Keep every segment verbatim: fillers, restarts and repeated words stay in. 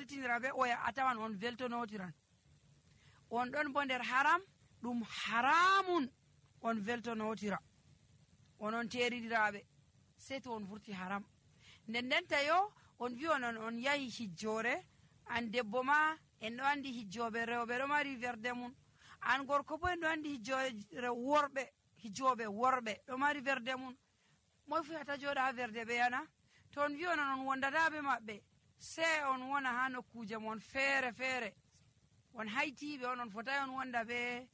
weltinira be oya a tawan on weltonotiran. On ɗon bo nder haram ɗum haramun on weltonotira onon teriɗiraɓe sei to on vurti haram. nden ndenta yo on wi onon on yahi hijjore, an debbo ma en ɗo andi hijjoɓe rewɓe ɗo mari verde mum, an gorko bo en ɗo andi hijjoɓe worɓe hijjoɓe worɓe ɗo mari verde mum. moy fu hata joɗa ha verde ɓe yana? to on wi onon on wondata be maɓɓe sei on wona ha nokkuje mon feere feere, on haytiɓe on on fotai on wonda be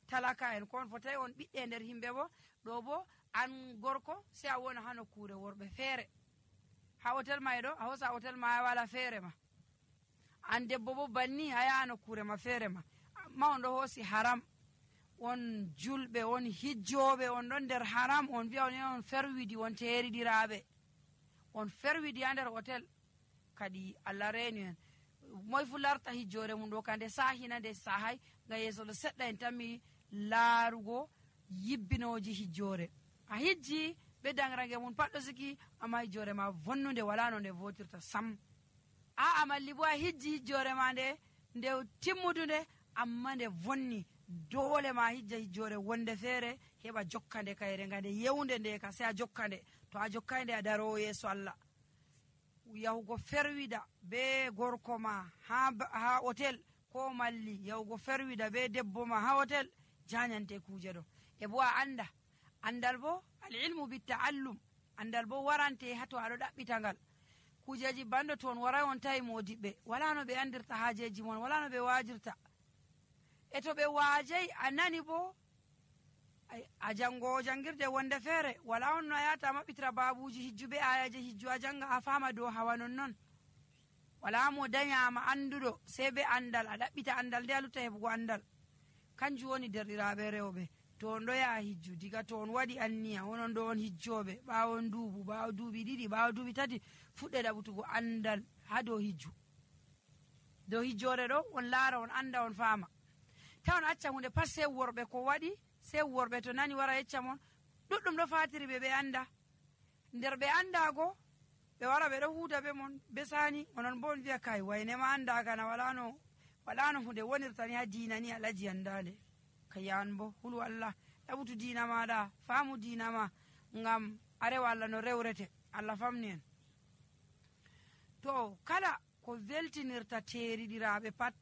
talaka en, ko on fotai on ɓiɗɗe nder himɓe. bo ɗo bo an gorko sei a wona ha nokkure worɓe feere, ha hotel ma ɗo a hosa hotel ma wala feere ma, an debbo bo banni a yaha nokkure ma feere ma. ma on ɗo hoosi haram, on julɓe on hijjoɓe on ɗon nder haram, on wiya on on ferwidi on teriɗiraɓe on ferwidi ha nder hotel. kadi Allah reeni en, moy fu larta hijjore mum ɗo kande sahina nde sahay, ngam yeeso ɗo seɗɗa en tammi laarugo yibbinoji hijjore. a hijji be dangrange mum pat ɗo siki, amma hijjore ma vonnude wala no nde votirta sam. a amalli bo a hijji hijjore ma nde nde timmudude, amma nde vonni. dole ma hijja hijjore wonde feere heɓa jokkande kayre, nga nde yewnde nde ka sei a jokkande. to a jokkande a darowo yeeso Allah. yahugo ferwida be gorko ma ha ha hotel, ko malli yahugo ferwida be debbo ma ha hotel, janyante kuje ɗo. e bo a anda andal bo al ilmu bitta'allum, andal bo warante ha to aɗo ɗaɓɓita ngal. kujeji bando to on waray on tawi modiɓɓe, wala no ɓe andirta hajeji mon, wala no ɓe wajirta. e to ɓe waajay a nani bo a jangowo jangirde wonde feere, wala on no a yata maɓɓitira babuji hijju be ayaje hijju a janga a fama dow hawa non non. wala mo dayama anduɗo sei be andal, a ɗaɓɓita andal nde a lutta heɓugo andal. kanjum woni derɗiraɓe rewɓe. to on ɗo yaha hijju, diga to on waɗi anniya onon ɗo on hijjoɓe, ɓawon duubu ɓawo duuɓi ɗiɗi ɓawo duuɓi tati, fuɗɗe ɗaɓutugo andal ha dow hijju. dow hijjore ɗo on laara on anda on fama. ta on acca hunde pat sei worɓe ko waɗi, sei worɓe to nani wara yecca mon. ɗuɗɗum ɗo fatiri ɓe ɓe anda, nder ɓe andago ɓe wara ɓe ɗo huuda be mon be sani, onon bo on wiya kai waynema andagana wala no wala no hunde wonirtani ha dina ni alaji andade. kayan bo hulu Allah ɗaɓutu dina maɗa, faamu dina ma, ngam arewa Allah no rewrete. Allah famni en. to kala ko weltinirta teriɗiraɓe pat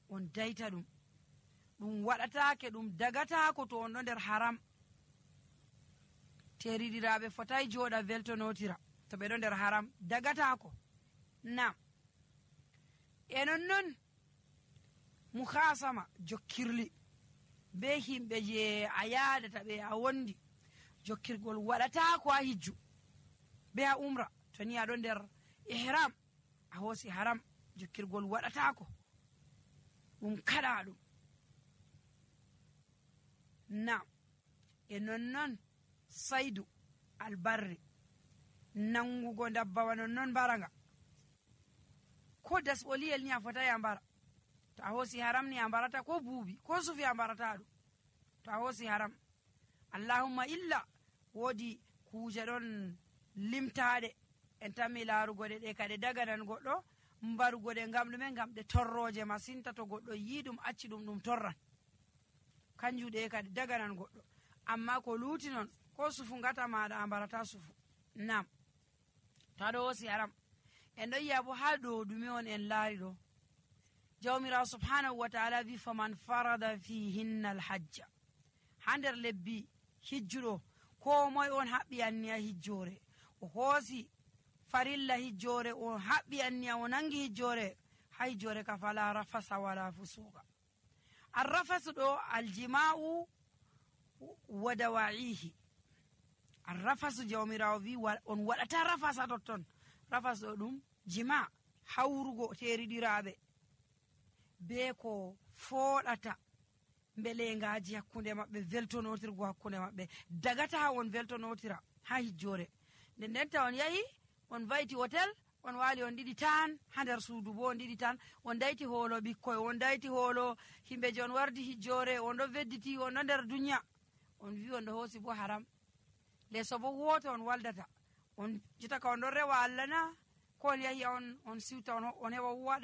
on dayta ɗum, ɗum waɗatake, ɗum dagatako to on ɗo nder haram. teriɗiraɓe fotai joɗa weltonotira to ɓe ɗo nder haram, dagatako. nam e non non muhasama jokkirli be himɓe je a yadata ɓe a wondi, jokkirgol waɗatako ha hijju be ha umra. to ni aɗo nder ihram a hoosi haram, jokkirgol waɗatako, ɗum kaɗa ɗum. nam e nonnon saydu albarri, nangugo dabbawa nonnon mbaraga, ko dasɓoliyel ni a fotai a mbara. to a hoosi haram ni a mbarata, ko buubi ko sufi a mbarata ɗum to a hoosi haram. allahumma illa woodi kuje ɗon limtaɗe en tammi laarugo ɗe, ɗe kadi daganan goɗɗo mbarugo ɗe ngam ɗume, ngam ɗe torroje masinta. to goɗɗo yi ɗum acci ɗum ɗum torran, kanjum ɗe kadi daganan goɗɗo. amma ko luuti non ko sufu ngata maɗa a mbarata sufu. nam to aɗo hoosi haram. en ɗo yiya bo ha ɗo ɗume on en laari ɗo, jawmirawo subhanahu wa taala wi faman farada fihinna alhajja. ha nder lebbi hijjuɗo ko moye on haɓɓi anniya hijjore, o hoosi farilla hijjore, o haɓɓi anniya o nangi hijjore, ha hijjore ka fala rafasa wala fusuka. arrafasu ɗo aljima'u wa dawa'ihi. arrafasu jawmirawo wi on waɗata rafasa totton. rafasu ɗo ɗum jima, hawrugo teriɗiraɓe be ko fooɗata mbelengaji hakkunde maɓɓe, weltonotirgo hakkunde maɓɓe, dagata ha on weltonotira ha hijjore. nden ndenta on yahi on vayti hotel, on waali on ɗiɗi tan ha nder suudu, bo on ɗiɗi tan on dayti hoolo ɓikkoy, on dayti hoolo himɓe je on wardi hijjore, on ɗo vedditi, on ɗo nder duniya, on wi on ɗo hoosi bo haram. leeso bo woto on waldata, on jotaka on ɗon rewa Allah na, ko on yahi on on siwta on heɓa waɗa